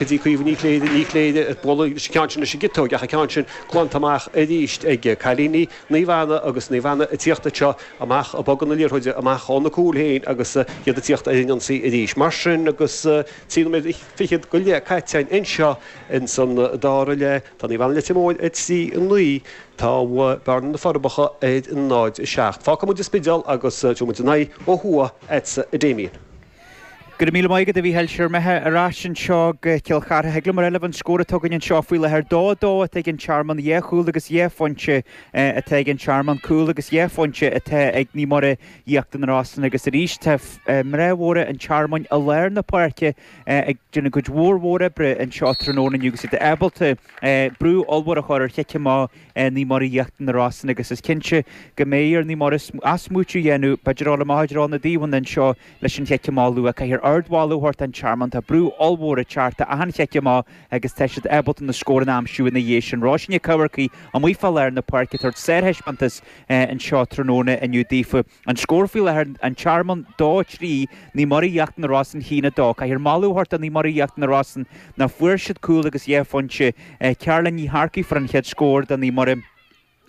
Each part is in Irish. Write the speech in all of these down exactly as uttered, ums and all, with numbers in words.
Go dtí Caoimhe Ní Chléire, Ní Chléire ag bualadh leis an gceann sin leis an gciotóg ach an ceann sin glanta amach arís ag cailíní Naomh Anna agus Naomh Anna ag tíocht anseo amach ag bogadh na liathróide amach óna cúl féin agus iad ag tíocht ar an ionsaí arís. Mar sin agus trí nóiméad fichead go leith caite anseo ins an dara leath, tá Naomh Anna Leitir Móir ar trí a naoi, tá Bearna na Forbacha ar náid a seacht. Fágfaidh muid an Spidéal agus tabharfaidh muid an aghaidh ó thuaidh agatsa a Damien. Go raibh míle maith agat a Mhícheáil. Siar imithe ar ais anseo go Cill Chartha. Thig liom a rá libh an scór atá againn anseo faoi láthair. Dó a dó atá ag an Tearmann, dhá chúl agus dhá phointe atá ag an Tearmann, cúl agus dhá phointe atá ag Naomh Muire Íochtar na Rosann agus arís tá mná mhóra an Tearmainn i lár na páirce ag déanamh cuid mhór mhór oibre anseo tráthnóna inniu agus iad ábalta brú ollmhór a chur ar chic amach Naomh Muire Íochtar na Rosann agus is cinnte go mbeidh ar Naomh Muire athsmaoitiú a dhéanamh, b'fhéidir dul amach i dtreo na dtaobhanna anseo leis an chic amach luath. Caithfidh ardmholadh a thabhairt don Tearmann. Tá brú ollmhór ag teacht ar achan chic amach agus tá siad ábalta na scóranna a aimsiú ina dhiaidh sin. Róisín Nic Eamharcaigh amuigh fá lár na páirce ag tabhairt sárthaispeántas anseo tráthnóna inniu daofa. An scór faoi láthair, An Tearmann dó a trí, Naomh Muire Íochtar na Rosann a haon a dó. Caithfear moladh a thabhairt do Naomh Muire Íochtar na Rosann nach bhfuair siad cúl agus dhá phointe. Caroline Ní Shearcaigh fuair an chéad scór do Naomh Muire.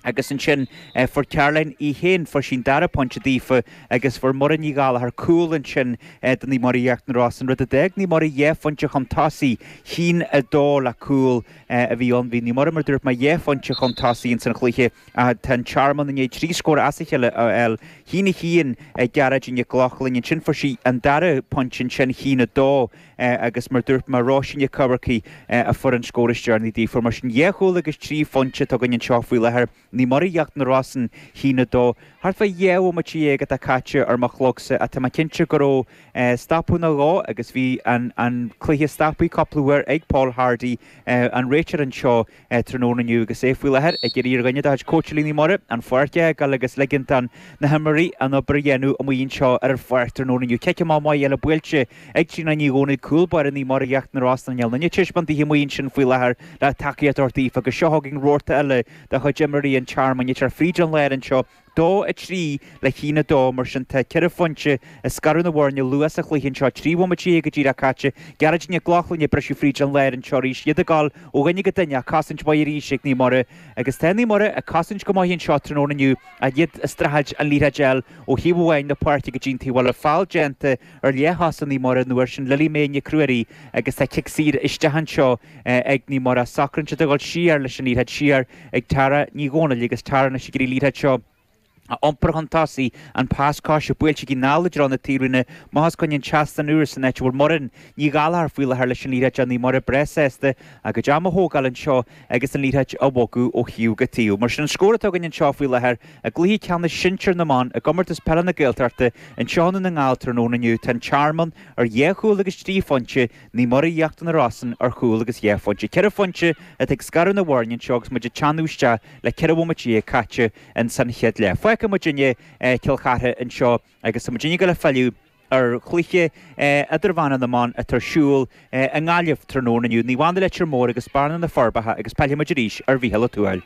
Agus ansin fuair Caroline í féin, fuair sí an dara pointe daofa agus fuair Muireann Ní Ghallchóir cúl ansin do Naomh Muire Íochtar na Rosann, rud a d'fhág Naomh Muire dhá phointe chun tosaigh, haon a dó le cúl a bhí ann. Bhí Naomh Muire, mar a dúirt mé, dhá phointe chun tosaigh ins an chluiche ach tá an Tearmann i ndiaidh trí scór as a chéile a fháil, haon a haon ag Gearóidín Nic Lochlainn, ansin fuair sí an dara pointe ansin, haon a dó. Agus mar dúirt mé, Róisín Nic Eamharcaigh a fuair an scór is deireanaí daofa. Mar sin, dhá chúl agus trí phointe atá againn anseo faoi láthair. Naomh Muire Íochtar na Rosann, haon a dó. Thart fá dhá bhomaite dhéag atá caite ar mo chlogsa ach tá mé cinnte go raibh stopadh nó dhó agus bhí an cluiche stoptha cúpla uair ag Paul Hardy, an réiteoir anseo tráthnóna inniu agus é faoi láthair ag iarraidh ar dhuine de chuid cóitseálaí Naomh Muire an pháirc a fhágáil agus ligean do na himreoirí an obair a dhéanamh amuigh anseo ar an pháirc tráthnóna inniu. Cic amach maith eile buailte ag Tríona Ní Dhomhnaill, cúl báire Naomh Muire Íochtar na Rosann níl aon duine taispeántaithe amuigh ansin faoi láthair le tacaíocht a thabhairt daofa agus seo chugainn rabharta eile de chuid imreoirí an Tearmainn ag teacht fríd an lár anseo. Dó a trí le haon a dó, mar sin tá ceithre phointe ag scaradh na bhfoirne luath sa chluiche anseo, trí bhomaite déag go díreach caite. Gearóidín Nic Lochlainn ag briseadh fríd an lár anseo arís, iad ag gabháil ó dhuine go duine ach cosaint mhaith arís ag Naomh Muire agus tá Naomh Muire ag cosaint go maith anseo tráthnóna inniu ach iad ag streachailt an liathróid a fháil ó thaobh amháin na páirce go dtí an taobh eile. Feall déanta ar leath-thosaí Naomh Muire an uair sin, Lily May Nic Ruairí agus tá cic saor isteach anseo ag Naomh Muire. Socraíonn siad a dhul siar leis an liathróid siar ag Tara Ní Dhomhnaill agus Tara anois ag iarraidh an liathróid seo a iompar chun tosaigh, an pas coise buailte aici anall i dtreo na taobhlíne, amach os coinne an tseastáin úr san áit a bhfuil Muireann Ní Ghallchóir faoi láthair leis an liathróid Naomh Muire breá sásta a gcuid ama a thógáil anseo agus an liathróid a bhogadh ó thaobh go taobh. Mar sin an scór atá againn anseo faoi láthair i gcluiche ceannais sinsir na mban i gComórtas Peile na Gaeltachta anseo i nDún na nGall tráthnóna inniu, tá an Tearmann ar dhá chúl agus trí phointe, Naomh Muire Íochtar na Rosann ar chúl agus dhá phointe. Ceithre phointe atá ag scaradh na bhfoirne anseo agus muid ag teannadh isteach le ceithre bhomaite déag caite ins an chéad leath. Fágfaidh muidinne Cill Chartha anseo agus tá muidinne ag dul a filleadh ar chluiche idirmheánach na mban atá ar siúl i nGaillimh tráthnóna inniu. Naomh Anna Leitir Móir agus Bearna na Forbacha agus pillfidh muid arís ar Mhícheál Ó Tuathail.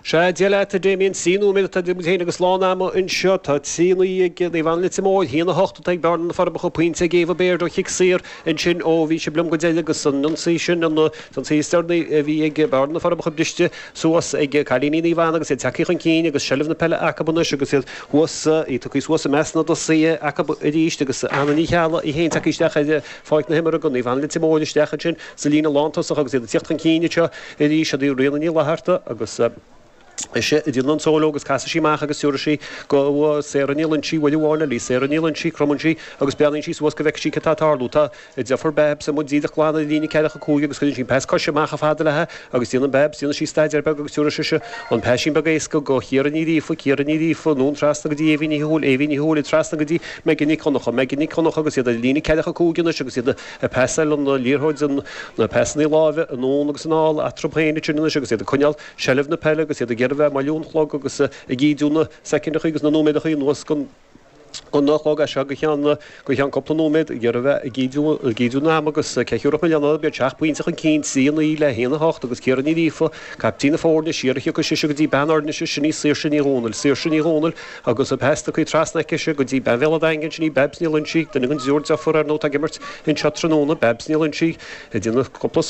Sea, Dia leat, a Damien. Trí nóiméad atá idir muid féin agus lán ama anseo. Tá trí naoi ag Naomh Anna Leitir Móir, haon a hocht atá ag Bearna na Forbacha, pointe ag Éabha Baird ó chic saor ansin ó bhí sibh liom go deireadh agus an ionsaí sin, an t-ionsaí is deireanaí a bhí ag Bearna na Forbacha briste suas ag cailíní Naomh Anna agus iad tagtha chun cinn agus seilbh na peile acu anois agus iad thuas, iad tugtha suas i measc na dtosaithe acu arís agus Anna Ní Cheallaigh í féin tagtha isteach ar pháirc na himeartha do Naomh Anna Leitir Móir isteach ansin sa líne lántosach agus iad ag tíocht chun cinn anseo arís, siod í Ríona Ní Fhlatharta agus. Ise a déanann an solo agus casfaidh sí amach agus tabharfaidh sí go Sarah Ní Loinsigh uair amháin eile í. Sarah Ní Loinsigh, cromann sí agus breathnaíonn sí suas go bhfeicfidh sí cad tá ag tarlú. Tá a deirfiúr Babs amuigh díreach glan ar an líne ceathracha cúig agus cuireann sí an pas coise amach chomh fada léi agus déanann Babs, déanann sí staidéar beag agus tabharfaidh sise an paisín beag éasca go Ciara Ní Ghríofa, Ciara Ní Ghríofa, anonn trasna go dtí Éibhín Ní Thuathail, Éibhín Ní Thuathail trasna go dtí Megan Nic Dhonncha, Megan Nic Dhonncha agus iad ar an líne ceathracha cúig anois agus iad ag pasáil an liathróid, na pasannaí láimhe anonn agus anall eatarthu féin ansin anois agus iad ag coinneáil seilbh na peile agus iad ag iarraidh bheith ag moilliú an chlog agus ag ídiú na soicindeachaí agus na nóiméadachaí anuas don An chlog é seo go ceann go ceann cúpla nóiméad ag iarraidh a bheith ag ídiú ag ídiú an ama agus ceathrú i mbliana bíonn seacht bpointe chun cinn trí a naoi le haon a hocht agus Ciara Ní Ghríofa, caiptín na foirne, siar a thiocfaidh sise go dtí bean Fhoirnise, sin í Saoirse Ní Dhomhnaill, Saoirse Ní Dhomhnaill agus an pas tugtha trasna aicise go dtí bean Bhéal an Daingin, sin í Babs Ní Loinsigh, duine den dtriúr deirfiúr ar ndóigh atá ag imirt anseo tráthnóna, Babs Ní Loinsigh ag déanamh cúpla